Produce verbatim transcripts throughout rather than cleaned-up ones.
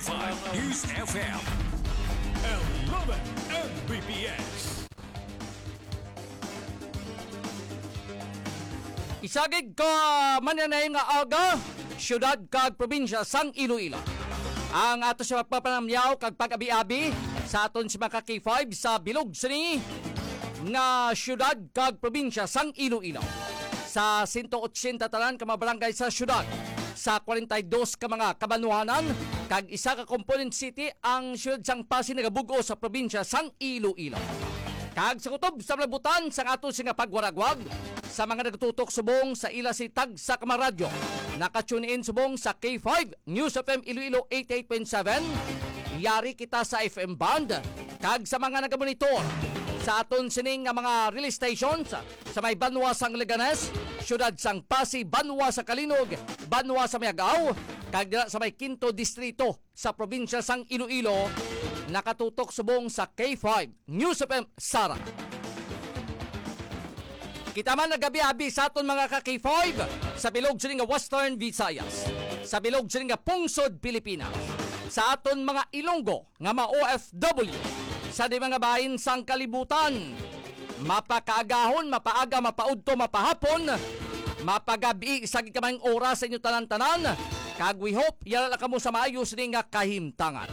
Five News F M. Eleven M B P S. Isagid ka mananay nga aga, siyudad kag probinsya sang Iloilo. Ang ato sa pagpapanamyaw kag pag-abi-abi sa aton si mga K five sa bilog sini nga siyudad kag probinsya sang Iloilo. Sa sento otsenta tanan ka mga barangay sa siyudad, sa kwarenta y dos ka mga kabanwahanan, kag isa ka component city ang siyudad sang Pasig nagabug-os sa probinsya sang Iloilo. Kag sa kutob sa malabutan sang ato sini nga pagwaragwag, sa mga nagtutok subong sa ila si tagsa ka mga radyo, naka-tune in subong sa K five News F M Iloilo eighty-eight point seven. Yari kita sa F M band, kag sa mga nagamonitor sa aton sining nga mga relay stations sa may banwa sang Leganes, siyudad sang Pasig, banwa sa Calinog, banwa sa Miagao, kag dira sa may Quinto Distrito sa probinsya sang Iloilo, nakatutok subong sa K five News F M Sara. Kita man nagabi-abi sa aton mga ka K five sa bilog sini nga Western Visayas, sa bilog sini nga pungsod Pilipinas, sa aton mga Ilonggo nga ma-O F W, sa di mga bahin sang kalibutan. Mapakaagahon, mapaaga, mapaudto, mapahapon, mapagabi sa gikamay nga oras sa inyo tanan-tanan. Kag we hope yara lang kamo sa maayo sini nga kahimtangan.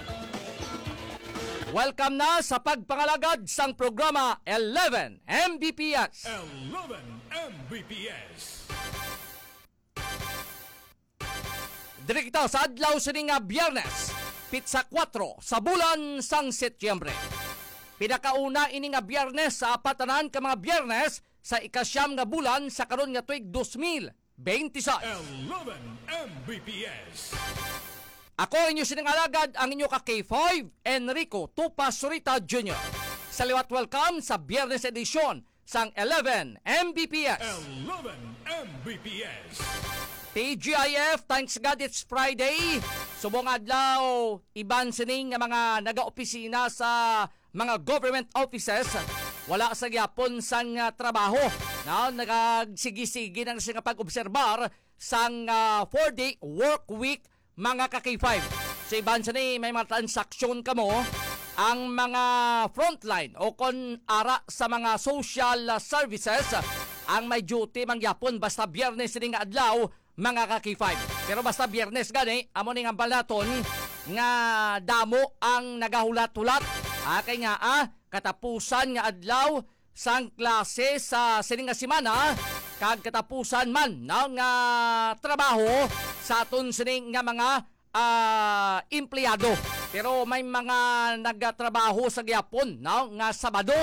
Welcome na sa pagpangalagad sang programa eleven M B P S. Eleven M B P S. Diri kita sa adlaw sini nga Biyernes, pitsa kuwatro sa bulan sang Setyembre. Pinakauna ini nga Biyernes sa apat tanan ka mga Biyernes sa ikasyam nga bulan sa karon nga tuig dos mil benti sais. Eleven M B P S. Ako inyo sining alagad, ang inyo ka K five, Enrico Tupa Surita Junior. Sa liwat, welcome sa Biyernes edisyon sang eleven M B P S. Eleven M B P S. T G I F, thanks God it's Friday. Subong adlaw, iban sining nga mga nagaopisina sa mga government offices, wala sa gyapon sang, ah, trabaho. No? Nagagsigi-sige na sila pag-obserbar sang, ah, four-day work week, mga ka K five. Sa iban sini, may mga transaksyon kamo, ang mga frontline o kon ara sa mga social, ah, services, ang may duty mangyapon basta Biyernes sini nga adlaw, mga ka K five. Pero basta Biyernes gani, amo ning hambal naton nga damo ang nagahulat-hulat. Ah, kay nga, ah, katapusan nga adlaw sang klase sa sini nga semana, kag katapusan man, no, nga trabaho sa aton sini nga mga, ah, empleyado. Pero may mga nagatrabaho sa gyapon, no, nga Sabado.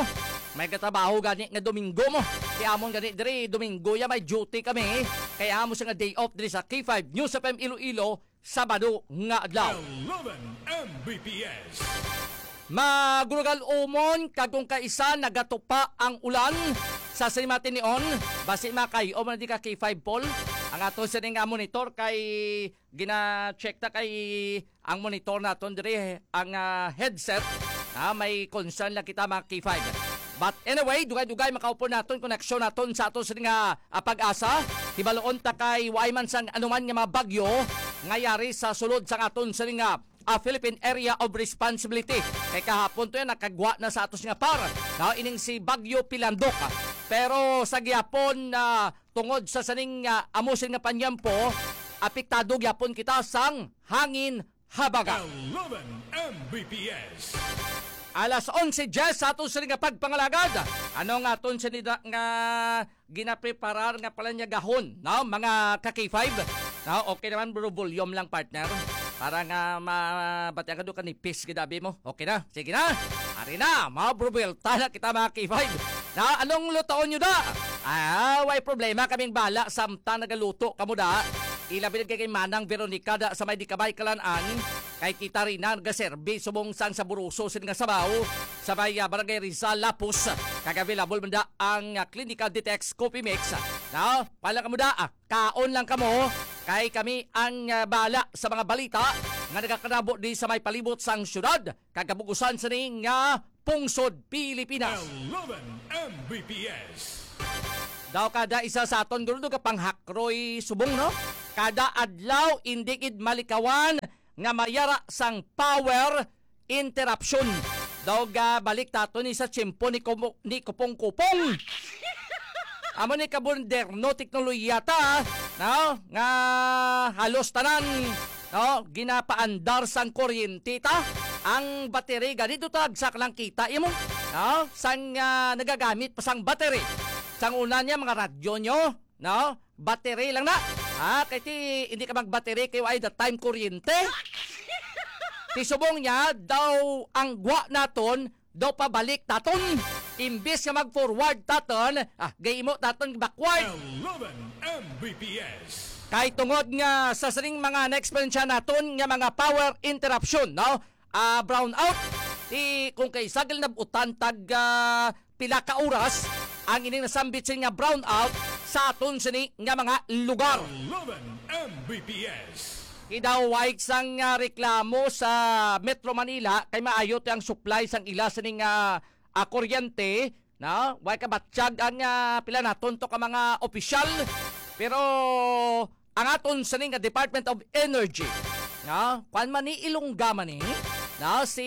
May gatrabaho gani nga Domingo mo. Kay amon gani diri, Domingo ya may duty kami. Kay amo sa nga day off diri sa K five News F M Iloilo, Sabado nga adlaw. Eleven M B P S. Magurugal umon kag kung kaisa nagatupa ang ulan sa Simatinion, basi makay-o man di ka K five Paul. Ang ato sini nga monitor kay gina-check ta kay ang monitor naton diri ang, ah, headset. Ah, may concern lang kita, mga K five. But anyway, dugay-dugay makaupon naton, koneksyon naton sa ato sini nga, ah, pag-asa. Hibaluon ta kay waay man sang anuman nga mga bagyo nga yari sa sulod sang aton sini nga, ah, Philippine Area of Responsibility. Kay kahapon to yan, nakagwa na sa atos nga par, no? Ining si Bagyo Pilandok. Pero sa gihapon, ah, tungod sa saning, ah, amo sini nga panyampo, apektado gyapon kita sang hangin habaga. Eleven M B P S. Alas onse diyes sa aton sini nga pagpangalagad. Ano nga aton sini da-, nga ginapreparar nga palanyagahon, no? Mga ka K five. No? Okay naman, bro, volume lang, partner. Para nga ma-, bati ka doon ka nipis, gidabi mo. Okay na? Sige na. Ari na, mga bro, buwelta na kita, mga K five. Na, anong lutoon nyo da? Ah, way problema, kaming bala, samtang nagaluto kamo da. Ilabi na kay Manang Veronica da sa may di kabay kalan-an. Kay kita rin na nagaserbi subong sang saburuso sini nga sabaw sa may, ah, Barangay Rizal, Lapus. Kag available man da ang, ah, Clinical Detox Coffee Mix. Na, pala kamo da, ah, kaon lang kamo. Kay kami ang, ah, bala sa mga balita nga nagakanabo di sa may palibot sang syudad kag kabugusan sini nga pungsod Pilipinas. Eleven M B P S. Daw kada isa sa aton, guro, do ka panghakroy subong, no? Kada adlaw, indi gid malikawan nga mayara sang power interruption. Daw gabalik ta to ni sa tiyempo ni Kumo-, ni Kupong-Kupong. Amo ni kamoderno teknolohiya ta, no? Nga halos tanan, no? Ginapaandar sang kuryente ta. Ang battery, ganito ta, agsak lang kita, imo, no? Sang, ah, nagagamit pa sang battery. Sang una niya, mga radyo nyo, no? Battery lang na. Ah, kay ti, hindi ka magbattery kay wala that time kuryente. Ti subong niya, daw ang gwa naton, daw pabalik taton. Imbis nga mag-forward taton, ah, gaymo taton backward. Eleven M B P S. Kay tungod nga sa sining mga na-experience naton nga mga power interruption, no? Ah, brownout. Ti, kung kay sagol nabutan tag, ah, pila ka oras ang ining nasambit sini nga brownout sa aton sini nga mga lugar. Eleven M B P S. Idaway sang, ah, reklamo sa Metro Manila kay maayo ti ang supply sang ila sini nga, ah, kuryente, no? Way kabatyag ang, ah, pila naton to ka mga opisyal. Pero ang aton sini nga Department of Energy, no? Kwan man ni, Ilongga man ni, no? Si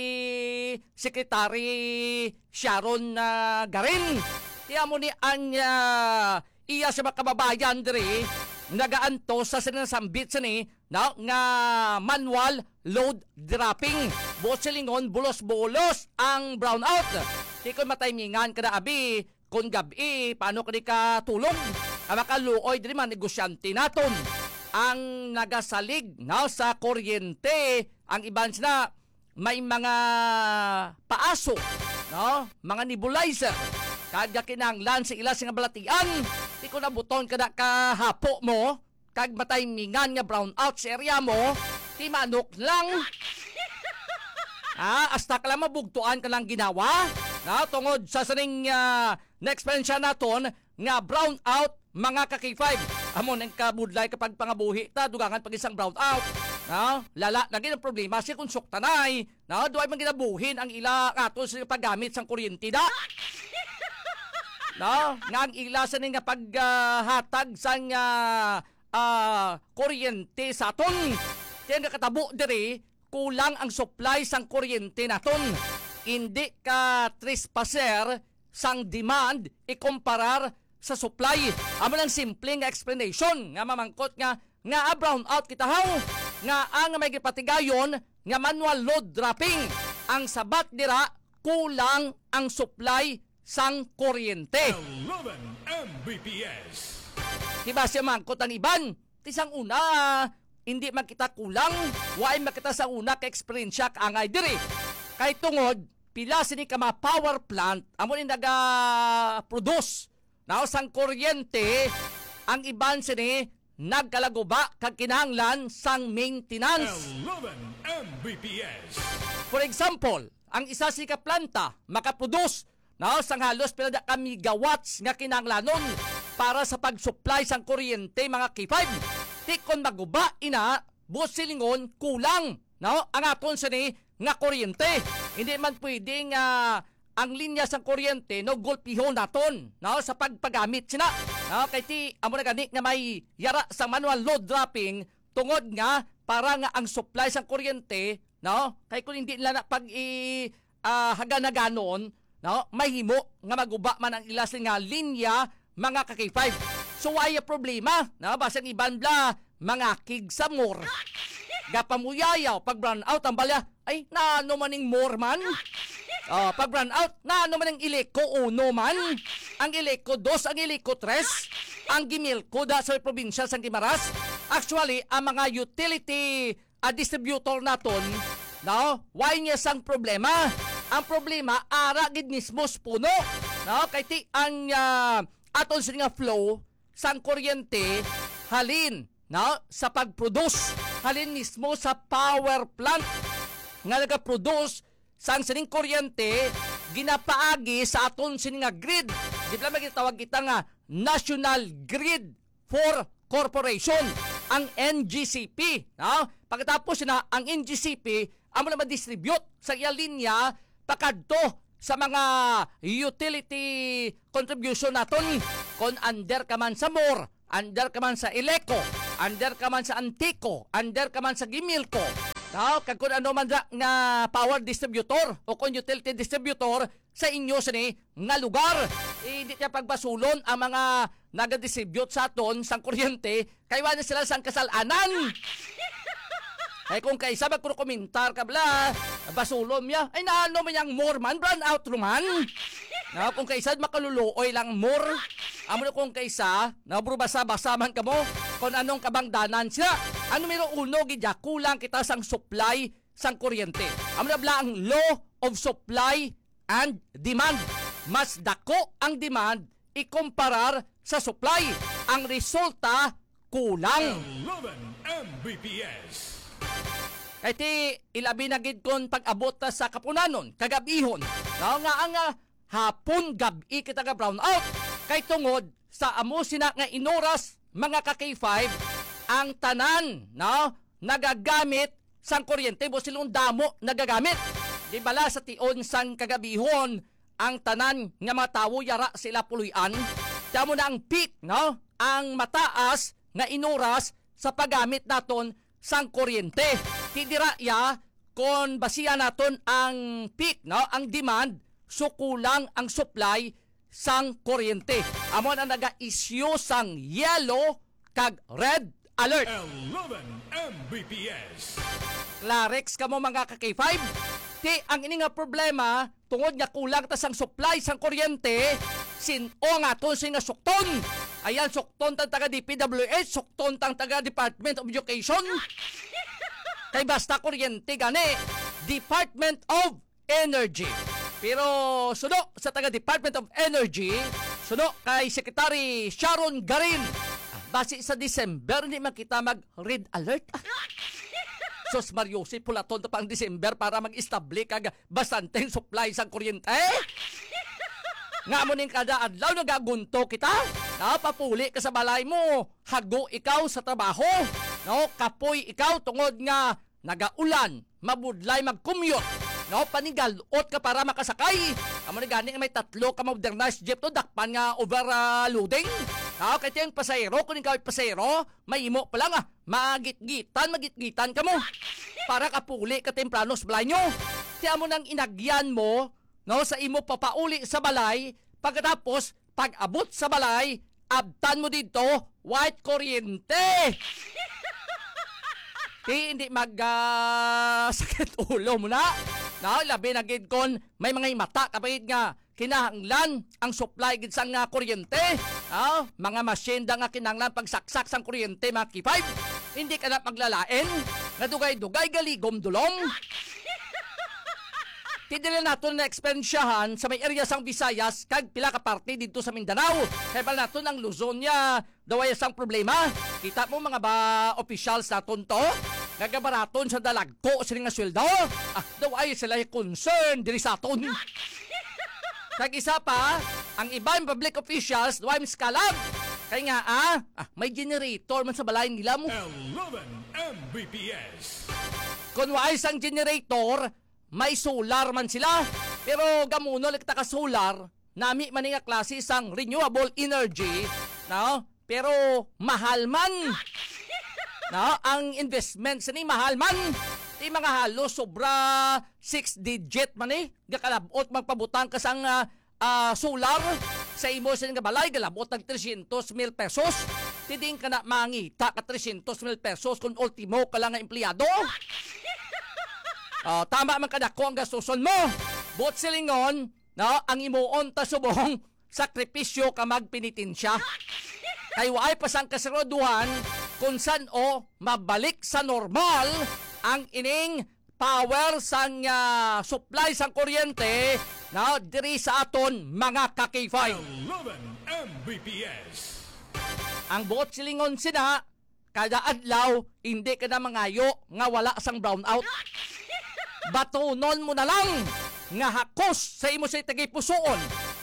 Secretary Sharon, ah, Garin. Ti amo ni ang, ah, iya sa mga kababayan diri nagaantos sa sinasambit sini, no, nga manual load dropping. Buot silingon, bulos-bulos ang brownout. Ti kon matimingan ka na, abi, kon gab-i, paano ka di ka tulog? Ang makaluoy diri, mga negosyante naton ang nagasalig, no, sa kuryente. Ang iban sila may mga paaso, no? Mga nebulizer. Kag kinahanglan sa ila sing balatian, ti kon nabuton ka na kahapo mo, kag matimingan nga brownout sa area mo, ti manok lang. Ah, hasta ka lang mabugtuan ka lang ginawa. Na tungod sa sining, ah, na-experience naton nga brownout, mga ka-K five. Amo nang kabudlay kapag pangabuhi ta, dugangan pag isang brownout. No? Lala na gid ang problema si kung suktanay. No? Duay man ginabuhin ang ila ato sa paggamit sang kuryente da. No? Nga ang ila sa nga paghatag sang, ah, ah, kuryente sa aton. Kaya nga katabo diri, kulang ang supply sang kuryente naton. Hindi ka trespasser sang demand ikumparar sa supply. Amo lang simple nga explanation nga mamangkot nga, nga brownout kita haw, nga ang may gipatigayon nga manual load dropping. Ang sabat dira, kulang ang supply sang kuryente. Eleven M B P S. Diba siya mangkot ang iban? Ti sang una, hindi man kita kulang, waay man kita sa una ka eksperyensya kaangay diri. Kay tungod, pila sini ka mga power plant, amo ni naga-produce, no, sang kuryente, ang iban sini nagkalaguba kag kinahanglan sang maintenance. Eleven M B P S. For example, ang isa sini ka planta makaproduce, no, sang halos pila da ka megawatts nga kinahanglanon para sa pag-supply sang kuryente, mga K five. Ti kon maguba ina, buot silingon, kulang, no, ang aton sini nga kuryente. Hindi man pwede nga ang linya sang kuryente, no, gulpihon naton, no, sa pagpagamit sina. No, kay ti, amo na gani nga may yara sa manual load dropping, tungod nga para nga ang supply sang kuryente, no, kay kung hindi nila na pag i, ah, haganhaganon, no, mahimo nga maguba man ang ila sini nga linya, mga ka-K five. So, wala problema, no? Basta ang iban bla, mangakig sa more. Gapamuyayaw, pag brownout, ang balya, "Ay, naano man ning more man?" Oh, pag brownout, "Naano man ang Ileco uno man? Ang Ileco dos, ang Ileco tres, ang Gimilco da sa probinsya sang Guimaras?" Actually, ang mga utility, ah, distributor naton, no? Wala niya sang problema. Ang problema, ara gid mismo sa puno, no? Kay ti ang, ah, aton sini nga flow sang kuryente halin, no, sa pag-produce, halin mismo sa power plant nga nagaproduce sang sining kuryente, ginapaagi sa aton sini nga grid. Di ba may gitawag kita nga national grid for corporation, ang N G C P, no? Pagkatapos na ang N G C P, amo na ma-distribute sa iya linya pakadto sa mga utility contribution naton. Kon under ka man sa more, under ka man sa Ileco, under ka man sa Antico, under ka man sa Gimilco, No? Kag kung ano man da nga power distributor o kung utility distributor sa inyo sini nga lugar. Eh, hindi niya pagbasulon ang mga nagadistribute sa aton sang kuryente, kay wala sila sang kasalanan. Ay, kung kaisa magkukumentar ka bala, basulon niya. Ay, naano man yang more man, brown out man. No, kung kaisa makaluluoy lang more. Amo na kung kaisa, no, bro, basa-basa man kamo kung anong kabangdanan siya. Ang numero uno, gid ya, kulang kita sang supply sang kuryente. Amo na bala ang law of supply and demand. Mas dako ang demand ikumparar sa supply. Ang resulta, kulang. Eleven M B P S. Kay ti, ilabi na gid kon pag-abot ta sa kapunanon, kagabihon. No, nga ang, ah, hapon, gab-i kita ga brown out. Kay tungod sa amo sina nga inoras, mga ka K five, ang tanan, no, nagagamit sang kuryente, buot silingon damo nagagamit. Di bala sa tion sang kagabihon, ang tanan nga mga tawo yara sila puloy-an. Kamo na ang peak, no? Ang mataas nga inoras sa paggamit naton sang kuryente. Ti dira ya, kon basihan naton ang peak, no? Ang demand, so kulang ang supply sang kuryente. Amo na naga-issue sang yellow kag red alert. Eleven M B P S. Klarex kamo, mga ka K five. Ti ang ini nga problema, tungod nga kulang ta sang supply sang kuryente, sin-o nga aton sini nga sukton? Ayan, sukton tang taga D P W H, sukton tang taga Department of Education. Kay basta kuryente gani, Department of Energy. Pero suno sa taga Department of Energy, suno kay Secretary Sharon Garin, basi sa December, hindi man kita mag red alert. Sus Mario, si pulaton ta pa ang December para mag-establish kag bastanteng supply sang kuryente. Nga mo ning kada adlaw nagagunto kita? Napapuli ka sa balay mo, hago ikaw sa trabaho, no? Kapoy ikaw tungod nga nagaulan, mabudlay mag-commute, no? Panigalot ka para makasakay. Amo ni gani nga may tatlo ka modernized jeep to, dakpan nga overloading. No? Kay tiyang pasahero, kung ikaw ay pasahero, may imo pa lang, ah, magitgitan, magitgitan ka mo. Para kapuli ka temprano sa balay nyo. Kaya mo nang inagyan mo, no, sa imo papauli sa balay, pagkatapos, pag-abot sa balay, abtan mo dito, white kuryente. Di, hindi mag, ah, sakit ulo mo na. No, labi na gid kon may mga himata kapahid nga kinahanglan ang supply gid sang, ah, kuryente. Ah, mga masyenda nga kinahanglan pagsaksak sang kuryente, mga K five. Hindi ka na maglalain nga dugay-dugay galigom dulom. Ti dili naton na-eksperyensyahan sa may area sang Visayas kag pila ka parte didto sa Mindanao. Kay bal naton ang Luzon niya, daw ay sang problema. Kita mo mga ba officials naton to? Nagabaraton sa dalagko sila nga sweldo. Ah, daw ay sila concern diri sa aton. Kag isa pa, ang iban public officials daw ay miskalab. Kay nga, ah, ah, may generator man sa balay nila mo. Eleven M B P S. Kung waay sang generator, may solar man sila. Pero gamuno lang kita ka solar, nami man nga klase sang renewable energy, no? Pero mahal man. No? Ang investment sini mahal man. Ti mga halos sobra six digit man eh. Gakalabot magpabutang ka sang, ah, ah, solar sa imo sini nga balay, galabot ng trescientos mil pesos. Ti diin ka na mangita ka trescientos mil pesos kung ultimo ka lang nga empleyado. Oh, tama man kadako ang gastuson mo. Buot silingon, no, ang imuon ta subong sakripisyo ka magpenitensya. Kay waay pa sang kasiguruduhan kung san-o mabalik sa normal ang ining power sang, ah, supply sang kuryente, no, diri sa aton mga ka K five. Eleven M B P S. Ang buot silingon sina, kada adlaw, hindi ka na mangayo nga wala sang brownout. Batunon mo na lang nga hakos sa imo sa tagipusoon,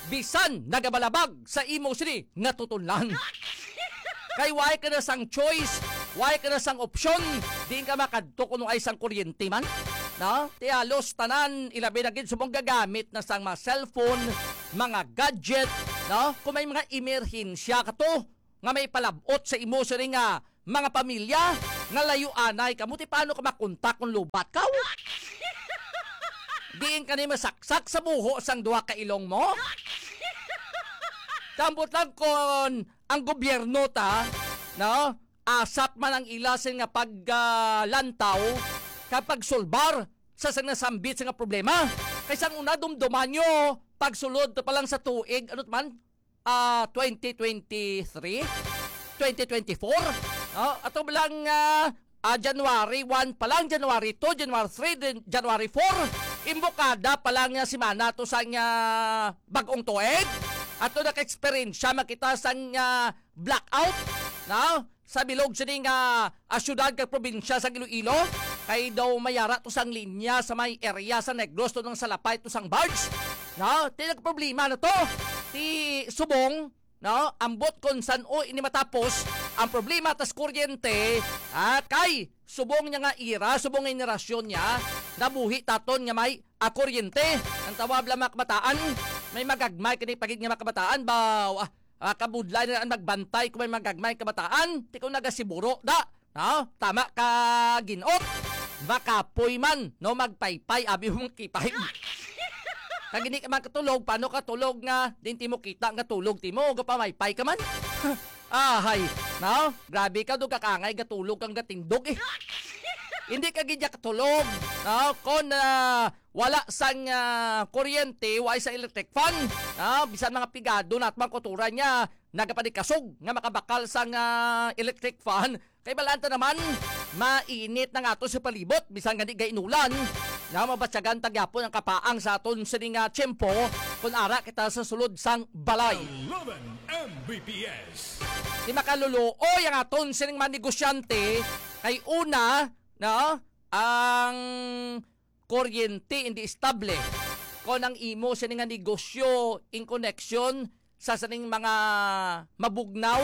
bisan nagabalabag sa imo sini nga tutunlan. Kay waay ka na sang choice, waay ka na sang opsyon, diin ka makadto kuno ay sang kuryente man. No? Ti halos tanan, ilabi na gid subong gagamit na sang mga cellphone, mga gadget, no? Kung may mga emerhensya ka to, nga may palabot sa imo sini nga mga pamilya, nga layo anay kamo, ti paano ka makontak kung lubat ka? Diin ka ni masaksak sa buho sang duha ka ilong mo? Ambot lang kon ang gobyerno ta, no? Asat man ang ila sing nga pag, ah, lantaw kag pagsulbar sa sang nasambit sa nga problema. Kay sang una, dumduman nyo, pagsulod pa lang sa tuig, ano man, ah, twenty twenty-three, twenty twenty-four, no? Ato lang, ah, ah, January one pa lang, January two, January three, din January four, imbokada pa lang nga semana to sa nga bag-ong tuig. Ato naka-experience siya makita sang, ah, blackout, no? Sa bilog sini nga, ah, syudad kag probinsya sa Iloilo, kay daw mayara to sang linya sa may area sa Negros to nang salapay to sang barge. No? Ti nagproblema na to. Ti subong, no? Ambot kon san-o ini matapos ang problema tas kuryente, ah, kay subong niya nga ira, subong nga henerasyon niya, nabuhi taton nga may, ah, kuryente. Ang tawag lang mga kabataan, may magagmay kini pagid nga mga kabataan, baw, ah, ah, kabudlay na ang magbantay kung may magagmay kabataan, ti kung nagasiburo, da, no? Tama ka, ginot. Makapoy man, no? Magpaypay, abi mo kipay. Kag hindi ka man katulog, paano katulog nga, din ti mo kita nga tulog, ti mo, gapamaypay ka man? Ahay, no? Grabe ka, do kakangay, gatulog kang gatindog, eh. Hindi ka gidya katulog, no? Kon, ah, wala sang, ah, kuryente, wala sa electric fan, no? Bisan mga pigado na at mga kuturan niya, nagapanikasog nga makabakal sang, ah, electric fan. Kay balaan ta naman, mainit na nga ato sa palibot, bisan gani gainulan, na mabatyagan ta gyapon ang kapaang sa aton sining, ah, tiyempo, kung ara kita sa sulod sang balay. Eleven M B P S. Di makaluluoy ang aton sining mga negosyante, kay una, no, ang kuryente hindi estable. Kon ang imo sini nga negosyo in connection sa sining mga mabugnaw,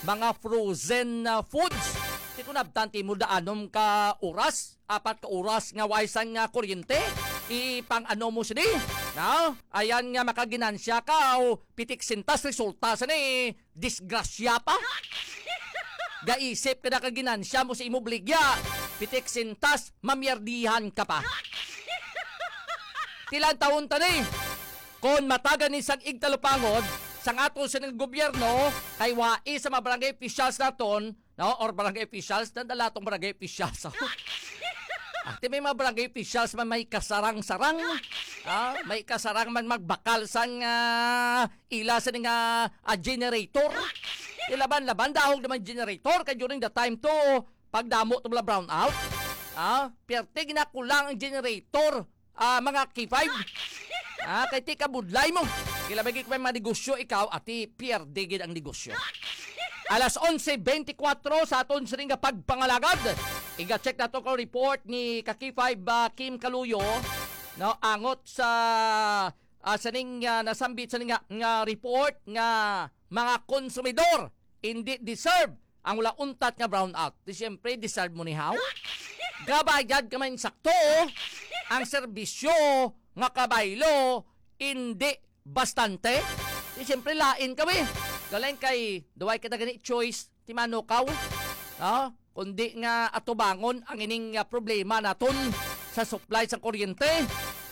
mga frozen, ah, foods, di ko nabtan ti mo daanom ka oras, apat ka oras nga way sang, ah, kuryente, ipang ano mo sini, no? Ayan nga makaginansya ka o pitik sintas resulta sini, disgrasya pa. Gaisip ka na ka ginansya mo sa imo baligya, pitik sintas, mamiyardihan ka pa. Ti lantawon ta ni. Kon matagan ni sang igtalupangod, sang ato sining gobyerno, kay wai sa mga barangay officials naton, no? Or barangay officials, nandala tong barangay officials. Ah, ti may mga barangay officials man may kasarang-sarang. Ah, may kasarang man magbakal sang, ah, ila sa nga, ah, generator. Ilaban-laban, dahog naman generator, kay during the time to, pagdamo to mga brownout. Ah, perte ginakulang ang generator, ah, mga K five. Ah, kay ti kabudlay mo. Kila may may mga negosyo ikaw, ati pierde gid ang negosyo. Alas onse bentikwatro sa aton sining nga pagpangalagad. Iga-check nato ko report ni ka K five, ah, Kim Kaluyo, no, angot sa, ah, sining, ah, nasambit sining nga, nga report nga mga konsumidor hindi deserve ang wala untat nga brownout. Di siyempre, deserve mo ni how? Gabayad ka man sakto, ang serbisyo nga kabaylo, hindi bastante. Di siyempre, lain kami. Galing kay, duway kita gani choice, ti manukaw. No? Kundi nga atubangon ang ining, ah, problema naton sa supply sa kuryente.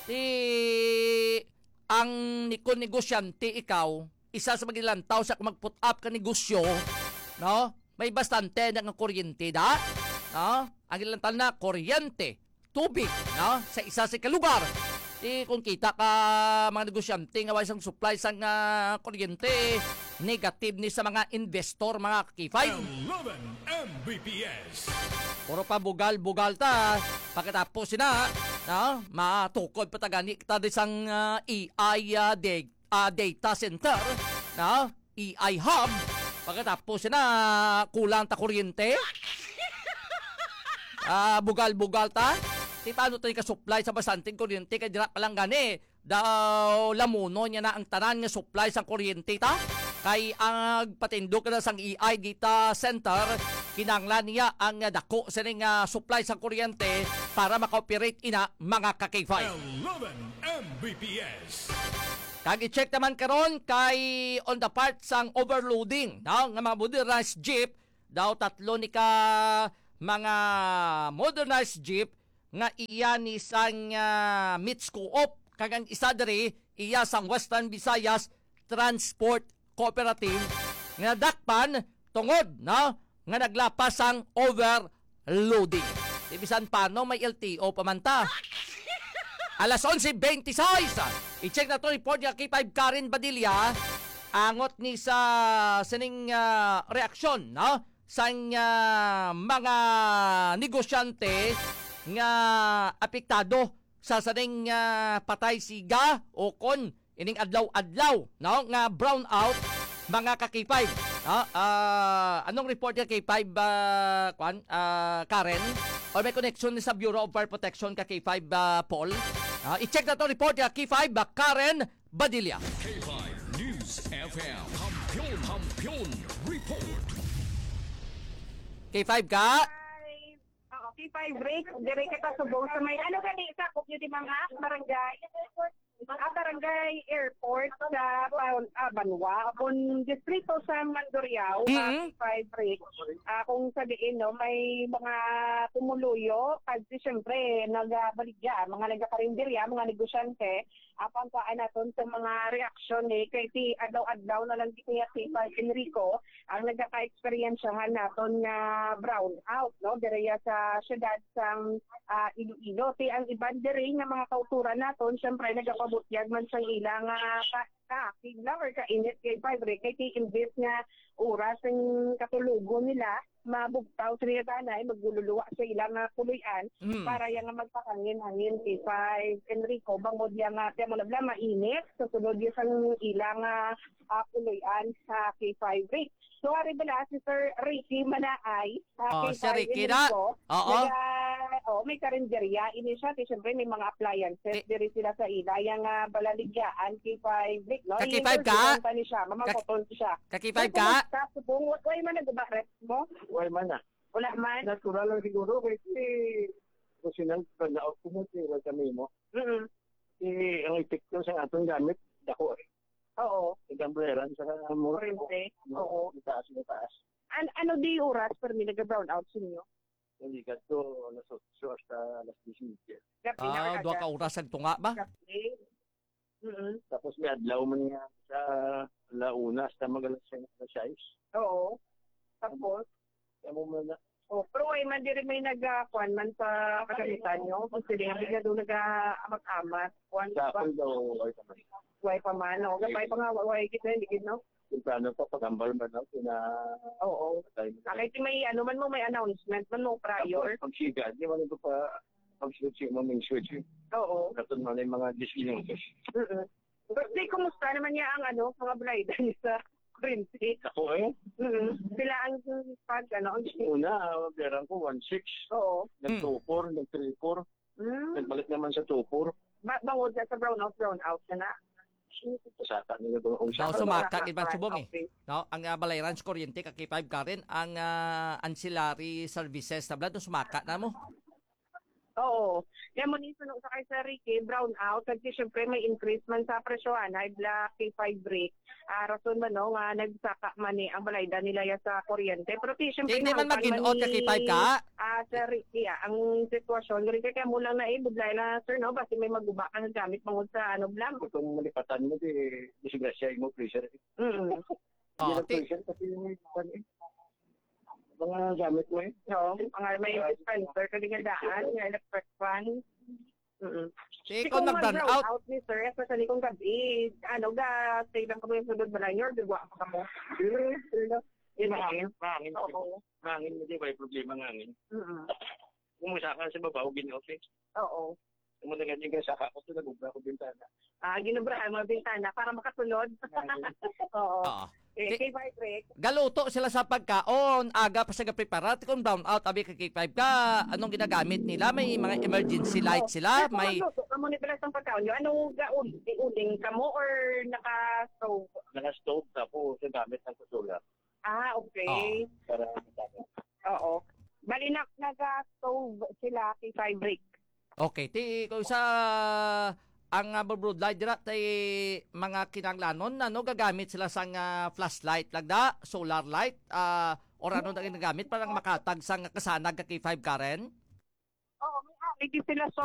Ti ang nikon negosyante ikaw, isa sa magilantaw sa mag-put up ka negosyo, no? May bastante na nga kuryente da, no? Ang ilantaw na kuryente, tubig, no? Sa isa sa ka lugar. Di kung kita ka mga negosyante nga way sang supply sang, ah, kuryente, negative ni sa mga investor, mga K five. Eleven M B P S. Puro pa bugal-bugal ta. Pagkatapos sina, no? Matukod pa ta gani kita di sang, ah, A I, ah, de-, ah, data center, no? A I hub. Pagkatapos sina, kulang ta kuryente. Ah, bugal-bugal ta. Di paano tayo ka-supply sa basanting kuryente? Kaya dira pa lang gani, daw lamuno niya na ang tanan nga supply sa kuryente ta. Kay ang patindog na sang A I data center, kinanglan niya ang dako sining, ah, supply sa kuryente para maka-operate ina mga ka-K five. Eleven M B P S. Kag i-check naman karon kay on the part sang overloading, no, nga mga motorized jeep, daw tatlo ni ka, mga modernized jeep nga iya ni sang, ah, Mits Co-op, kag ang isa diri iya sang Western Visayas Transport Cooperative nga nadakpan tungod, no, nga naglapas sang overloading. Di bisan pano may L T O pa man ta. Alas onse beintiseis. I-check naton report ni K five Karen Badilla. Angot ni sa sining, ah, reaksyon, no? Sang, ah, mga negosyante nga apektado sa sining, ah, patay siga o kon ining adlaw-adlaw, no, nga brownout, mga ka-K five, no? Ah, anong report ka K five, ah, kwan, ah, Karen? Or may connection ni sa Bureau of Fire Protection ka K five, ah, Paul? Ah, i-check naton report ka K five, ah, Karen Badilla. K five News F M. Kampiyon, Kampiyon Report. K five ka? Hi. Oo, K five Rick, dire kita subong sa may, ano gani, sakop nyo di mga barangay? Ah, barangay airport sa Ban-, ah, Banwa, abon distrito sa Mandurriao, ah, Mm-mm. K five Rick. Ah, kung sa diin, no, may mga pumuluyo, kasi siyempre, nagabaligya, mga nagakarinderya, mga negosyante, apan kuhaan naton sa mga reaksyon, eh, kay si adlaw-adlaw na lang di kaya si Sir Enrico ang nagaka-eksperyensyahan naton nga brown out, no, direya sa syudad sang, ah, Iloilo. Ti ang iban diri nga mga kauturan naton, syempre, nagapabutyag man sang ilang, ah, ka-, kaakig lang or kainit kay Padre, kay ti imbis nga oras ang katulogon nila, mabugtaw sila tanay, maglululuwa sa ilang, ah, puloy-an Mm. para yang magpakangin-hangin si Five Enrico, bangod yang, ah, tiyan mo na bala, mainit, sa sulod yung sang ilang, ah, ah, puloy-an sa K five Rick. So, ari bala si Sir Ricky Manaay, ah, Oh, K five Sir Ricky na. Enrico, Oo. naga-, oh, may karinderya, ini siya, ti, siyempre, may mga appliances, Ti- diri sila sa ila, yang, ah, balaligyaan, K five Rick, no? Ka K five ka? Interviewan pa ni siya, mamangkoton siya. Ka K five Pero ka? kumusta? Subong, wa-, way man nagbaret mo? Way man na. Wala man? Natural lang siguro, kay si Rosinal, pag na-out ko mo, si Wal Camino. Mm-mm. Si, ang epekto sa atong gamit, dako eh. Oo. Igang bleran sa mura. Kuryente. Oo. Itaas, itaas. An-, ano di oras, permi, nag-brown out sa inyo? Hindi, kadto alas otso hasta alas diyes y media. Gabi na Ah, or duha ka aga? oras ang tunga ba? Gabi. Mm-mm. Tapos may adlaw man nga sa ala una hasta mag alas sais, alas sais. Oo. Tapos? Kaya mo man na. Oh, pero way man diri may nag, ah, kuwan man sa kagamitan nyo. Kung sila nga bigla doon nag-aamat-amat. Kuwan Sa pa. Akin daw, okay naman. Way pa man, no? Gabay pa nga, way kita, hindi gid, no? Temprano pa, pagambal man, no? Kina-, Oo. Patay mo. Ah, kay ti may, ano man mo, may announcement man mo prior. Tapos, pag siga, di man ito pa, pag switch mo, may switch. Oo. Katon man yung mga diyes minutos. Mm-mm. Pero di, kumusta naman niya ang, ano, mga balaydan sa kuryente? Ako eh. Mm-mm. Sila ang pag, ano, ang Una, ah, perang ko, one six. Oo. Nag Mm. two four, nag three four. Mm. Nagbalik naman sa two four. Ba-, bangod na sa brown out, brown out na na. Saka nila ba ang Daw saka? Sumaka, Saka, di ba, right, subong eh. Okay. No, ang, ah, Balay Ranch Kuryente, ka K five Karen, ang, ah, ancillary services na bala, sumaka na mo. Oo. Kaya mo ni suno sa kay Sir Ricky, brown out, kasi syempre may increase man sa presyo, ah, high black, K five brick. Ah, rason man, no, nga nagsaka man ni ang balaydan nila ya sa kuryente. Pero ti, syempre, Di, di man nahangpan man mag-in-out ka, ni, K five ka? Ah, Sir Ricky, ah, ang sitwasyon, rin kaya mo lang na, eh, budlay na, sir, no, basi may maguba ka nga gamit, bangod sa, ano, blam. Kung malipatan mo, di, disgrasya mo, pressure. Mm. Hindi Oh, lang ti- pressure, kasi yung, ano, eh, mga gamit mo, eh. Oo, mga may dispenser, kadi nga daan, nga electric fan. Mm-mm. Di Di ko kung nag-brown mag-brown out. out ni sir, especially kung gabi, ano, ga, stay lang kami sa sulod balay niyo, or gagawa pa kamo? Pero, pero, Di, mahangin, mahangin. Oo. Mahangin, hindi ba yung problema ng hangin? Mm-mm. Kung masaka sa babaw, gin-off eh. Oo. Kung madagal yung saka ko, ito nag-ubra ko bintana. Ah, ginubrahan mo ang bintana para makasulod. Mahangin. Oo. Oo. Eh, Ti-, kay Vibrate. Galuto sila sa pagkaon, aga pa sila prepara, ti kung brown out, abi ka K five ka, anong ginagamit nila? May mga emergency light sila? May Ano, ano, ano, ano, ang pagkaon nyo? Ano, ga-, ul-, uling kamo or naka-stove? Naka-stove, tapos yung gamit ng kusulat. Ah, okay. Oo. Para magamit. Oo. Bali, na-, naga-stove sila kay Vibrate. Okay, ti, kung sa ang, ah, broad light dira, ti mga kinahanglanon, ano, gagamit sila sang, ah, flashlight lang da, solar light, ah, Or ano na ginagamit para lang makatag sa nga kasanag ka K five, Karen? Oo, may ani di sila, so